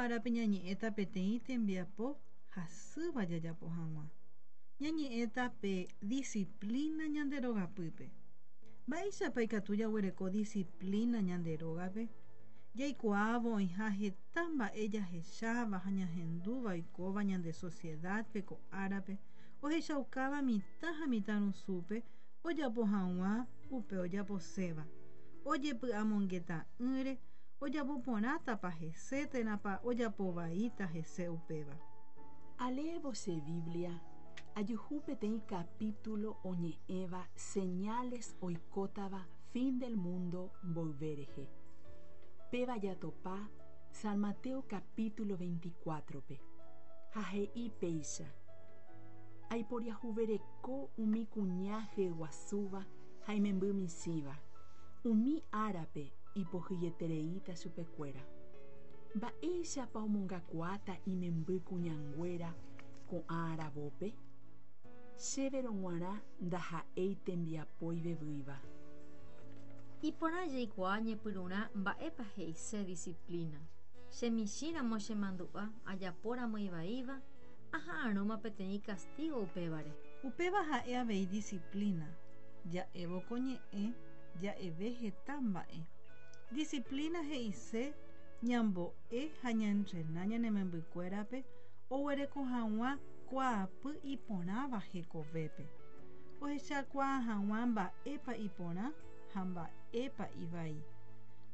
árape ñañe'ẽta peteĩ tembiapo hasýva jajapo hag̃ua. Ñañe'ẽta pe disciplina ñande rogapýpe. Mba'éichapa ikatu jaguereko disciplina ñande rógape? Jaikuaávo oĩha heta mba'e jahecháva ha ñahendúva oikóva ñande sociedad-pe ko árape ohechaukáva mitã ha mitãrusúpe ojapo hag̃ua upe ojaposéva, ojepy'amongeta'ỹre ojapo porãtapa hese térãpa ojapo vaíta hese upéva. Aleévo che Biblia, ajuhu peteĩ capítulo oñe'ẽva señales oikótava fin del mundo mboyve rehe. Péva jatopa San Mateo capítulo 24-pe. Ha he'i péicha, Aiporiahuvereko umi kuña hyeguasúva ha imemby michĩva, umi árape ipohyietereíta chupekuéra. Mba'éichapa omongakuaáta imemby kuñanguéra ko'ã aravópe? Chéverõ g̃uarã ndaha'éi tembiapo ivevýiva. Iporã jaikuaa ñepyrũrã mba'épa he'ise disciplina. Che michĩramo chemandu'a ajapóramo ivaíva, aha'arõma peteĩ castigo upévare. Upéva ha'e avei disciplina. Ja'évo ko ñe'ẽ, ja'eve heta mba'e. Disciplina he'ise ñambo'e ha ñaentrena ñane membykuérape oguereko hag̃ua kuaapy iporãva hekovépe, ohechakuaa hag̃ua mba'épa iporã ha mba'épa ivai,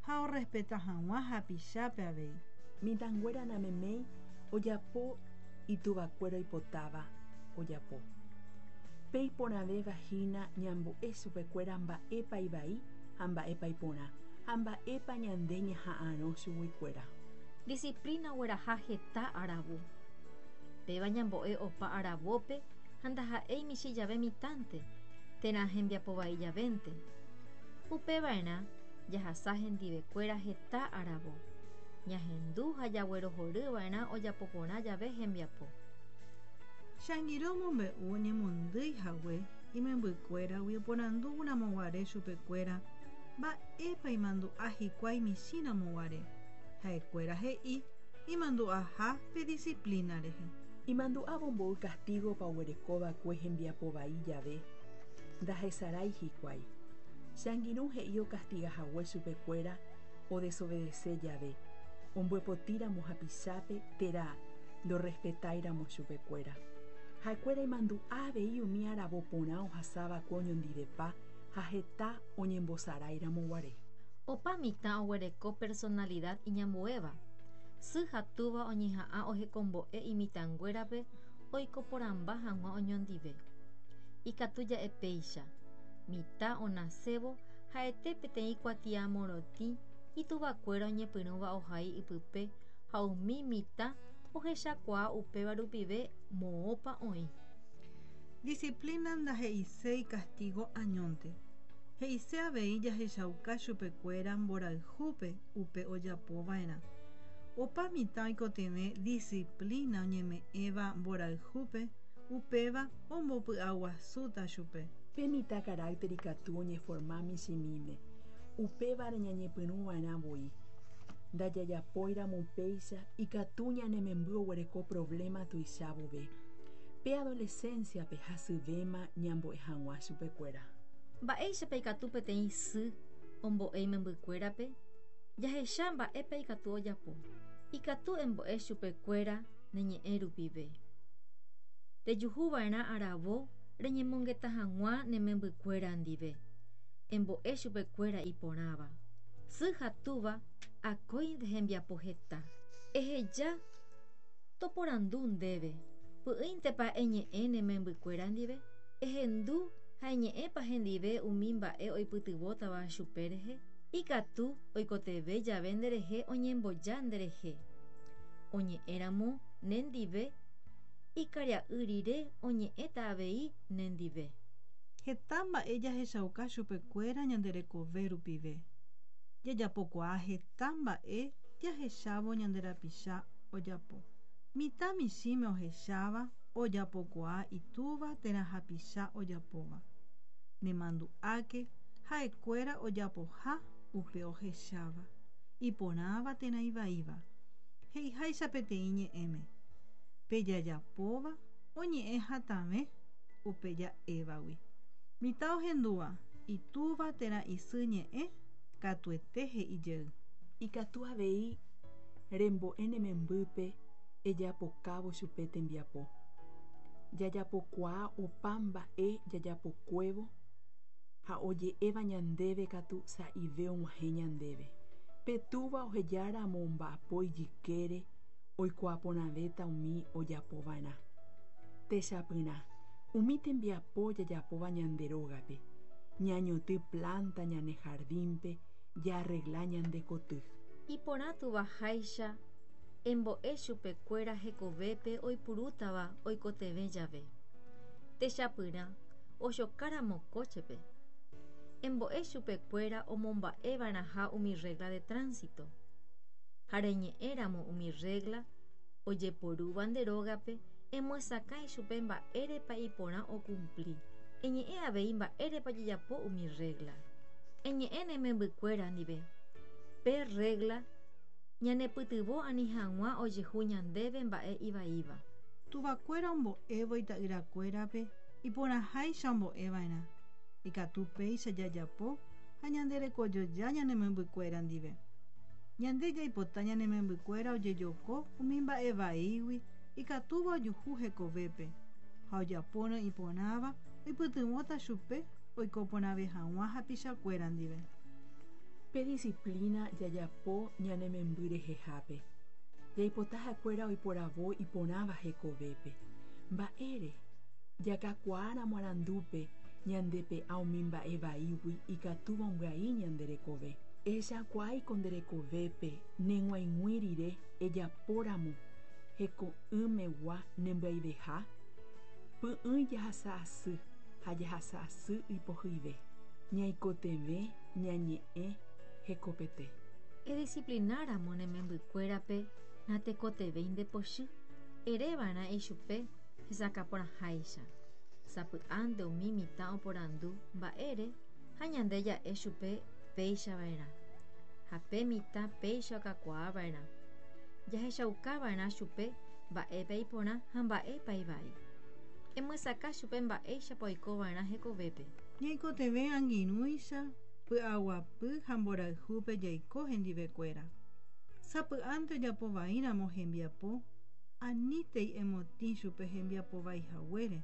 ha orrespeta hag̃ua hapichápe avei. Mitãnguéra nameméi ojapo ituvakuéra oipotáva ojapo. Pe iporãvéva hína ñambo'e chupekuéra mba'épa ivai ha mba'épa iporã, ha mba'épa ñande ñaha'arõ chuguikuéra. Disciplina ogueraha heta aravo. Péva ñambo'e opa aravópe ha ndaha'éi michĩ jave mitãnte, térã hembiapo vai javénte. Upeva'erã jahasa hendivekuéra heta aravo. Ñahendu ha jaguerohoryva'erã ojapo porã jave hembiapo. Che angirũ omombe'u oñemondýi hague imembykuéragui oporandu ramoguare chupekuéra mba'épa imandu'a hikuái michĩ ramoguare. Ha'ekuéra he'i imandu'aha pe disciplina rehe. Imandu'ávo mboy castigo-pa oguerekova'ekue hembiapo vai jave, ndahesarái hikuái. Che angirũ he'i ocastiga hague chupekuéra odesobedece jave, ombyepotíramo hapichápe térã ndorrespetáiramo chupekuéra. Ha'ekuéra imandu'a avei umi aravo porã ohasava'ekue oñondivepa ha heta oñembosaráiramo guare. Opa mitã oguereko personalidad iñambuéva. Sy ha túva oñeha'ã ohekombo'e imitãnguérape oiko porãmba hag̃ua oñondive. Ikatu ja'e péicha, mitã onasévo ha'ete peteĩ kuatia morotĩ ituvakuéra oñepyrũva ohai ipype ha umi mitã ohechakuaa upéva rupive moõpa oĩ. Disciplina ndahe'iséi castigo añónte. He'ise avei jahechauka chupekuéra mborayhúpe upe ojapova'erã. Opa mitã oikotevẽ disciplina oñeme'ẽva mborayhúpe, upéva ombopy'aguasúta chupe. Pe mitã carácter ikatu oñeforma michĩmíme, upévare ñañepyrũva'erã voi. Ndajajapóiramo upéicha ikatu ñane memby oguereko problema tuicha vove. Pe adolescencia-pe hasyvéma ñambo'e hag̃ua chupekuéra. Mba'éichapa ikatu peteĩ sy ombo'e imembykuérape? Jahecha mba'épa ikatu ojapo. Ikatu embo'e chupekuéra ne ñe'ẽ rupive. Rejuhuva'erã aravo reñemongeta hag̃ua ne membykuéra ndive. Embo'e chupekuéra iporãva. Sy ha túva akóinte hembiapo heta. Eheja toporandu ndéve, py'ỹintepa eñe'ẽ ne membykuéra ndive? Ehendu ha eñe'ẽpa hendive umi mba'e oipytyvõtava chupe rehe? Ikatu oikotevẽ jave nderehe oñemboja nderehe. Oñe'ẽramo nendive, ikaria'y rire oñe'ẽta avei nendive. Heta mba'e jahechauka chupekuéra ñande rekove rupive. Jajapokuaa heta mba'e jahechávo ñande rapicha ojapo. Mitã michĩme ohecháva ojapokuaa itúva térã hapicha ojapóva. Nemandu'áke ha'ekuéra ojapoha upe ohecháva, iporãva térã ivaíva. He'iháicha peteĩ ñe'ẽme, pe jajapóva oñe'ẽ hatãve upe ja'évagui. Mitã ohendúva itúva térã isy ñe'ẽ katuete he'i jey. Ikatu avei rembo'e ne membýpe ejapokávo chupe tembiapo. Jajapokuaa opa mba'e jajapokuévo ha oje'éva ñandéve katu sa'ive og̃uahẽ ñandéve. Pe túva ohejáramo omba'apo ijykére oikuaa porãvéta umi ojapova'erã. Techapyrã, umi tembiapo jajapóva ñande rógape, ñañotỹ planta ñane jardín-pe, jaarregla ñande koty. Iporã tuvaháicha embo'e chupekuéra hekovépe oipurútava oikotevẽ jave. Techapyrã, ochokáramo kóchepe. Embo'e chupekuéra omomba'eva'erãha umi regla de tránsito. Ha reñe'ẽramo umi regla ojeporúva nde rógape emyesakã ichupe mba'érepa iporã okumpli. Eñe'ẽ avei mba'érepa ojejapo umi regla. Eñe'ẽ ne membykuéra ndive. Pe regla ñanepytyvõ ani hag̃ua ojehu ñandéve mba'e ivaíva. Tuvakuéra ombo'évo ita'yrakuérape iporãháicha ombo'eva'erã. Ikatu péicha jajapo ha ñanderekojoja ñane membykuéra ndive. Ñande jaipota ñane membykuéra ojejoko umi mba'e vaígui ikatúva ojuhu hekovépe ha ojapórõ iporãva oipytyvõta chupe oiko porãve hag̃ua hapichakuéra ndive. Pe disciplina jajapo ñane memby rehehápe. Jaipota ha'ekuéra oiporavo iporãva hekovépe. Mba'ére? Jakakuaáramo arandúpe ñandepe'a umi mba'e vaígui ikatúva ombyai ñande rekove. Ehechakuaáiko nde rekovépe neg̃uaig̃ui rire ejapóramo heko'ỹmegua nembyaiveha? Py'ỹi jahasa asy ha jahasa asy ipohyive. Ñaikotevẽ ñañe'ẽ hekopete. Edisciplináramo ne membykuérape natekotevẽi ndepochy. Ereva'erã ichupe hesakãporãháicha. Sapy'ánte umi mitã oporandu mba'ére ha ñande ja'e chupe péichava'erã. Ha pe mitã péicha okakuaava'erã. Jahechaukava'erã chupe mba'épa iporã ha mba'épa ivai. Emyesakã chupe mba'éichapa oikova'erã hekovépe. Ñaikotevẽ angirũicha py'aguapy ha mborayhúpe jaiko hendivekuéra. Sapy'ánte ojapovaíramo hembiapo, anítei emotĩ chupe hembiapo vaihaguére,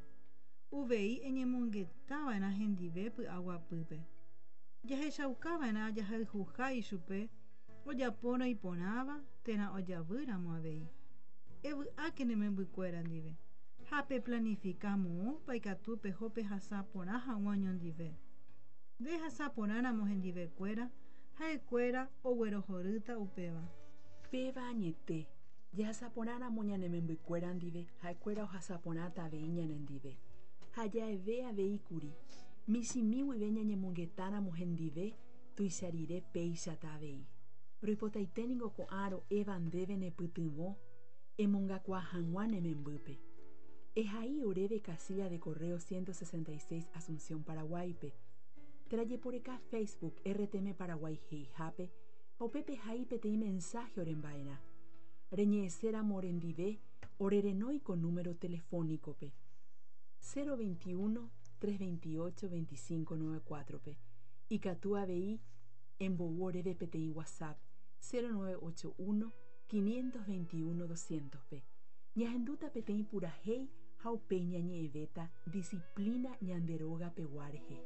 uvei eñemongetava'erã hendive py'aguapýpe. Jahechaukava'erã jahayhuha ichupe ojapórõ iporãva térã ojavýramo avei. Evy'áke ne membykuéra ndive ha peplanifika moõpa ikatu peho pehasa porã hag̃ua oñondive. Ndehasa porãramo hendivekuéra, ha'ekuéra oguerohorýta upéva. Péva añete, jahasa porãramo ñane membykuéra ndive, ha'ekuéra ohasa porãta avei ñanendive. Ha ja'eve avei kuri, michĩmi guive ñañemongetáramo hendive, tuicha rire péichata avei. Roipotaite ningo ko'ã ro'éva ndéve nepytyvõ emongakuaa hag̃ua ne membýpe. Ehai oréve casilla de correo 166 Asunción, Paraguáipe. Térã jeporeka Facebook RTM Paraguay he'ihápe ha upépe ehai peteĩ mensaje oremba'erã. Reñe'ẽséramo orendive orerenói ko número telefónico-pe: 021 328 2594-pe. Ikatu avei embou oréve peteĩ WhatsApp 0981 521 200-pe. Ñahendúta peteĩ purahéi ha upéi ñañe'ẽvéta disciplina ñande rógapegua rehe.